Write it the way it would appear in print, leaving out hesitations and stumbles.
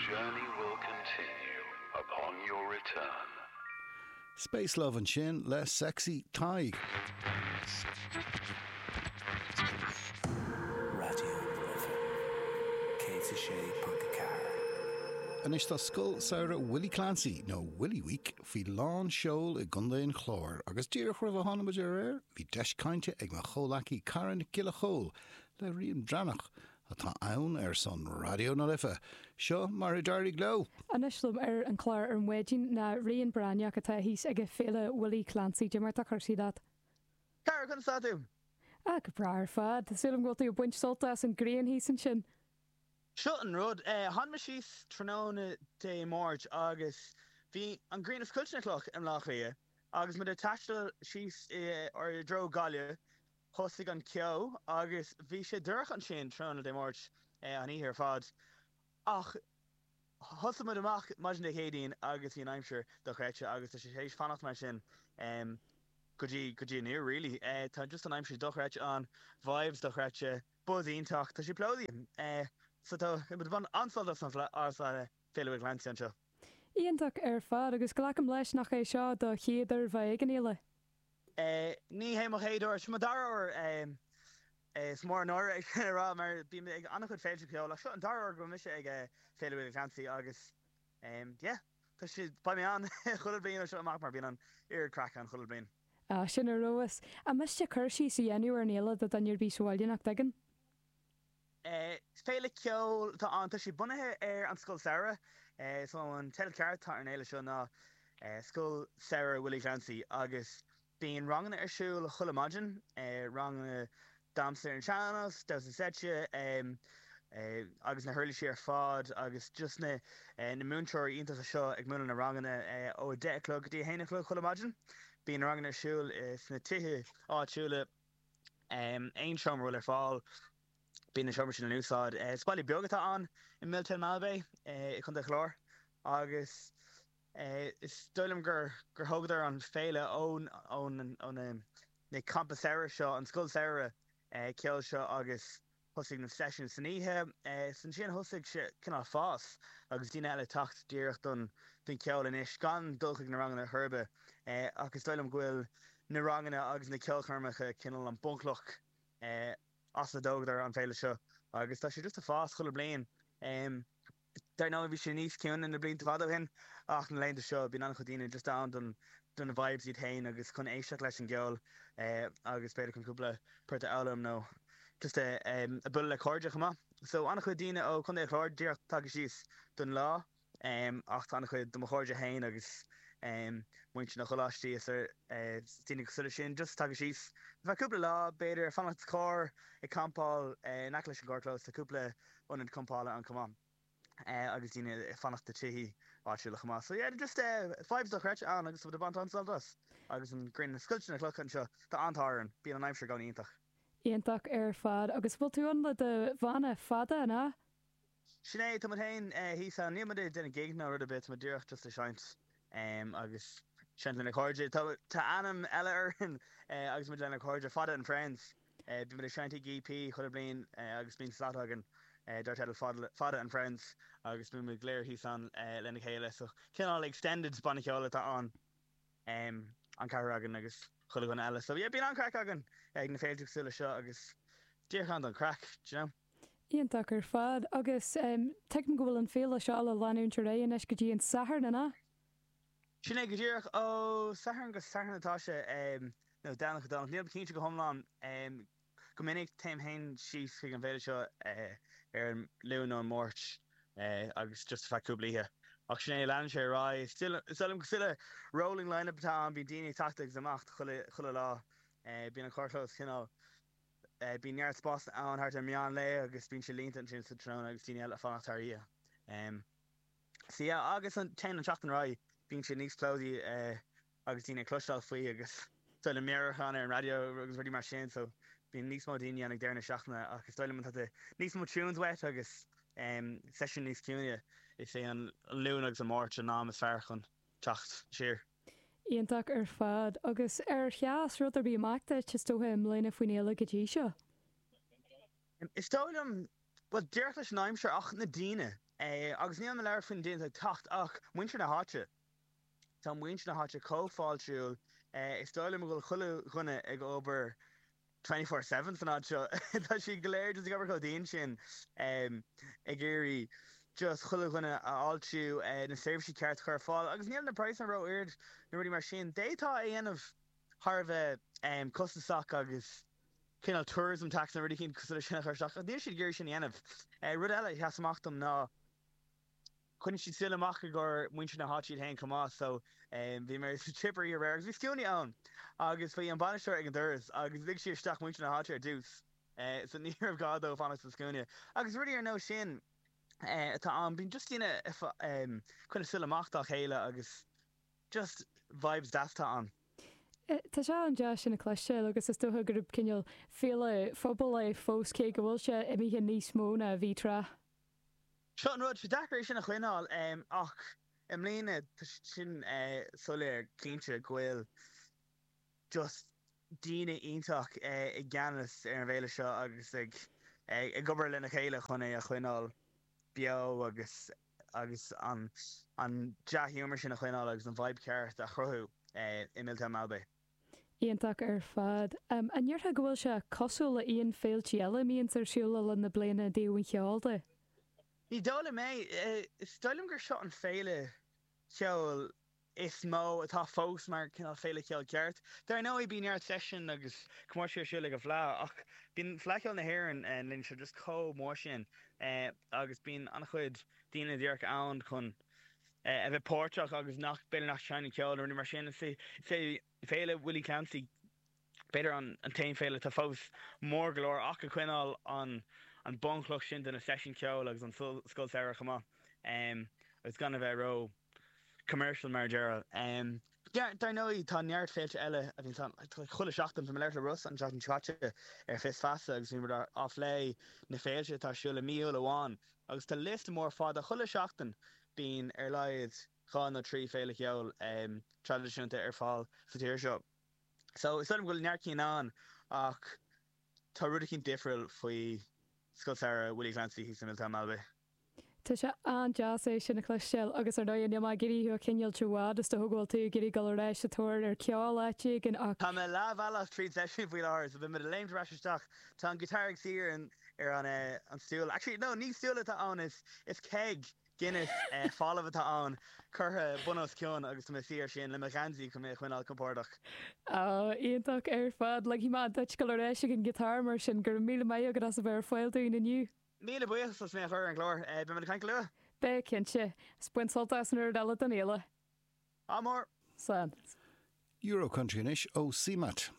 journey will continue upon your return. Space Love ansin le Sexy Tadhg. Raidió na Life 106.4. Anois tá Scoil Samhraidh Willie Clancy, nó Willie Week, faoi lán seoil i gContae an Chláir agus díreach roimh a tháinig muid ar aer bhí deis cainte ag mo chomhleacaí Cara Nic Giolla Chóill le Rían Breathnach atá ann ar son Raidió na Life. Seo mar a d'éirigh leo! Anois liom ar an chlár ar maidin ná Rían Breathnach atá thíos ag Féile Willie Clancy. Cad é mar atá cúrsaí leat? Cara, conas tá tú? Ah, go breá ar fad. Tá súil agam go bhfuil tú ag baint sult as an ghrian thíos ansin. Seo an rud, tháinig mé síos tráthnóna Dé Máirt agus bhí an ghrian ag scoilteadh na cloch i mBleá Cliath agus muid ag taisteal síos i dtreo Gaillimh thosaigh an ceo agus bhí sé dorcha ansin tráthnóna Dé Máirt an oíche ar fad ach thosaigh muid amach maidin Dé Céadaoin agus bhí an aimsir dochreidte agus tá sé théis fanacht mar sin go dtí go dtí inniu really. Tá just an aimsir dochreidte ann, vibes dochreidte. Buzz iontach, tá sé plódaithe. So tá muid ag baint an-sult as an as Féile Willie Clancy anseo. Iontach ar fad, agus glacaim leis nach é seo do chéad uair bheith ag an fhéile? Ní hé mo chéad uair, seo mo dara huair. Is mór an náire é sin a rá mar bím ag an-chuid féilte ceoil ach seo an dara huair go bhfuil mise ag Féile Willie Clancy agus yeah, tá sé, beidh mé ann chuile bhliain ó seo amach mar bíonn an oiread craic ann chuile bhliain. Ah, sin ar fheabhas. An miste cur síos a dhéanamh ar an fhéile do dhuine ar bith sa bhaile nach dtuigeann? Féile ceoil atá ann. Tá sé bunaithe ar an Scoil Samhraidh. So an teideal ceart atá ar an fhéile seo ná Scoil Samhraidh Willie Clancy agus bíonn ranganna ar siúl chuile maidin, ranganna damhsa ar an sean-nós, damhsa seite, agus na huirlisí ar fad agus just na na múinteoirí iontacha seo ag múineadh na ranganna ó 10 a chlog go dtí 1 a chlog chuile maidin. Bíonn na ranganna ar siúl sna tithe áitiúla, aon seomra a bhfuil ar fáil, bíonn na seomraí sin in úsáid. Is baile beag atá ann i Miltown Malbay i gContae Chláir agus Is dóigh liom gur gur thógadar an féile ó ó na na campa samhraidh seo, an scoil samhraidh ceoil seo agus thosaigh na seisiúin san oíche. Is ansin thosaigh sé cineál fás agus daoine eile ag teacht díreach don don cheol anois gan dul chuig na ranganna ar chor ar bith. Ach is dóigh liom go bhfuil na ranganna agus na ceolchoirmeacha cineál an bunchloch as a dtógadar an féile seo agus tá sé just ag fás chuile bliain. Dar ndóigh bhí sé níos ciúine na blianta fada ó shin ach na laethanta seo bíonn an-chuid daoine just ann don do na vibes iad féin agus chun éisteacht leis an gceol agus b'fhéidir chun cúpla port a fhoghlaim nó just a bualadh le cairde chomh maith. So an-chuid daoine ó Chontae an Chláir díreach tagtha síos don lá ach tá an-chuid de mo chairde féin agus muintir na gcoláistí is daoine cosúil leis sin just tagtha síos ar feadh cúpla lá b'fhéidir fanacht sa charr ag campáil in aice leis an gcarrchlós tá cúpla ionad campála ann chomh maith agus daoine ag fanacht i tithe áitiúla chomh maith. So yeah, just vibes dochreidte ann agus tá muid ag baint an-sult as agus an ghrian ag scoilteadh na clocha anseo. Tá an-t-ádh orainn, bíonn an aimsir i gcónaí iontach. Iontach ar fad. Agus bhfuil tú ann le do bhanna fada, an ea? Sin é, tá muid féin thíos ann. Níl muid ag déanamh gig ná rud ar bith, tá muid díreach just ag seinnt agus seinnt lenár cairde. Tá ainm eile orainn agus muid lenár cairde, Fada and Friends. Bíonn muid ag seinnt ag EP chuile bliain agus bíonn slot againn dar teideal Fada and Friends agus bíonn muid go léir thíos ann lena chéile. So cineál extended banna ceoil atá ann, an ceathrar againn agus chuile dhuine eile. So yeah, bíonn an-chraic againn ag na féilte cosúil leis seo agus díreach ann don chraic, do you know. Iontach ar fad. Agus tuigim go bhfuil an féile seo le leanúint ar aghaidh anois go dtí an Satharn, an ea? Sin é go díreach. Ó Satharn go Satharn atá sé, nó Domhnach go Domhnach, nílim cinnte go hiomlán. Go minic téim féin síos chuig an bhféile seo ar an Luan nó an Máirt agus just ar feadh cúpla oíche. Ach sin é, leanann sé ar aghaidh. Is dóigh liom cosúil le rolling line-up atá ann, bíonn daoine ag teacht agus ag imeacht chuile lá. Bíonn an carrchlós cineál, bíonn neart spásanna ann thart ar meán lae agus bíonn sé líonta ansin sa tráthnóna agus daoine eile ag fanacht thar oíche. Sea, agus téann an tseachtain ar aghaidh, bíonn sé níos plódaí agus daoine ag cloisteáil faoi agus dóigh liom meabhrúchán ar an raidió agus rudaí mar sin so bíonn níos mó daoine ann ag deireadh na seachtaine ach is dóigh liom má tá níos mó tunes uait agus seisiún níos ciúine, is é an Luan agus an Máirt an am is fearr chun teacht siar. Iontach ar fad. Agus ar sheas rud ar bith amach duit, is dócha, i mbliana faoin fhéile go dtí seo? Is dóigh liom, bhuel, díreach leis an aimsir ach na daoine. Agus níl mé ag labhairt faoi na daoine atá ag teacht ach muintir na háite. Tá muintir na háite chomh fáiltiúil. Is dóigh liom go bhfuil chuile dhuine ag obair 24/7 san áit seo. Tá siad go léir just ag obair chomh dian sin ag iarraidh just chuile dhuine a fháiltiú, na seirbhísí ceart a chur ar fáil agus níl na praghsanna ró-ard nó rudaí mar sin. D'fhéadfá é a dhéanamh thar a bheith costasach agus cineál tourism tax nó rudaí cosúil leis sin a chur isteach ach níl siad ag iarraidh sin a dhéanamh. Rud eile a sheas amach dom ná Coinnigh siad súil amach i gcomhair muintir na háite iad féin chomh maith so bhí mé sa chipper aréir agus bhí scuainí ann agus bhí an bainisteoir ag an doras agus lig sí isteach muintir na háite ar dtús so ní raibh gá dóibh fanacht sa scuaine agus rudaí ar nós sin atá ann. Bíonn just daoine ag coinneáil súil amach dá chéile agus just vibes deas atá ann. Tá sé an-deas sin a chloisteáil agus is dócha gurb cineál féile phobail é fós cé go bhfuil sé imithe níos mó ná a bhí tráth. Seo an rud, sé deacair é sin a choinneáil ach i mbliana tá sin soiléir cinnte go bhfuil just daoine iontach i gceannas ar an bhféile seo agus ag ag obair lena chéile chun é a choinneáil beo agus agus an an dea-ghiúmar sin a choinneáil agus an vibe ceart a chruthú i Miltown Malbay. Iontach ar fad. An ndéarfá go bhfuil sé cosúil le aon féiltí eile a mbíonns ar siúl le linn na bliana i dtaobh an cheoil de? Ní dóigh liom é. Is dóigh liom gur seo an féile cheoil is mó atá fós mar cineál féile cheoil ceart. Dar ndóigh bíonn neart seisiún agus comórtais ar siúl ag an bhFleadh ach bíonn Fleadh Cheoil na hÉireann an bhliain seo just chomh mór sin agus bíonn an-chuid daoine díreach ann chun a bheith páirteach agus nach, b'fhéidir nach seinneann ceol nó rudaí mar sin. Is é Féile Willie Clancy b'fhéidir an t-aon féile atá fós mór go leor ach ag coinneáil an an bunchloch sin de na seisiúin ceoil agus an scoil samhraidh chomh maith agus gan a bheith ró commercial mar a déarfá. Dar ndóigh tá neart féilte eile a bhíonn ann chuile seachtain. Bhí mé ag labhairt le Russ an tseachtain seo caite ar Fios Feasa agus bhí muid á phlé na féilte atá ar siúl i mí Iúil amháin Agus tá liosta mór fada chuile seachtain bíonn ar laghad 2 nó 3 féile cheoil traidisiúnta ar fáil sa tír seo. So is dóigh liom go bhfuil neart cinn ann ach tá rud eicínt difriúil faoi Scoil Samhraidh Willie Clancy thíos i Miltown Malbay. Tá sé an-deas é sin a chloisteáil agus ar ndóigh níl mé ag iarraidh thú a choinneáilt i bhfad is dócha go bhfuil tú ag iarraidh dul ar ais sa tóir ar cheol áit éigin ach. Tá mé leathbhealach tríd seisiún faoi láthair so beidh mé ag léimt ar ais isteach. Tá an guitar ag suí ar an ar an an stól. Actually, no, ní stól atá ann, is is keg Guinness folamh atá ann, curtha bun os cionn agus tá mé suí air sin le mo gheansaí chun mé a choinneáil compordach. Á, iontach ar fad. Ligfidh mé duit dul ar ais ag an ghiotár mar sin. Go raibh míle maith agat as a bheith ar fáil dúinn inniu. Míle buíochas as mé a chur ar an gclár. Beidh muid ag caint go luath. Beidh, cinnte. Is bain sult as an oiread eile den fhéile. Ádh mór! Slán. Euro Country anois ó CMAT.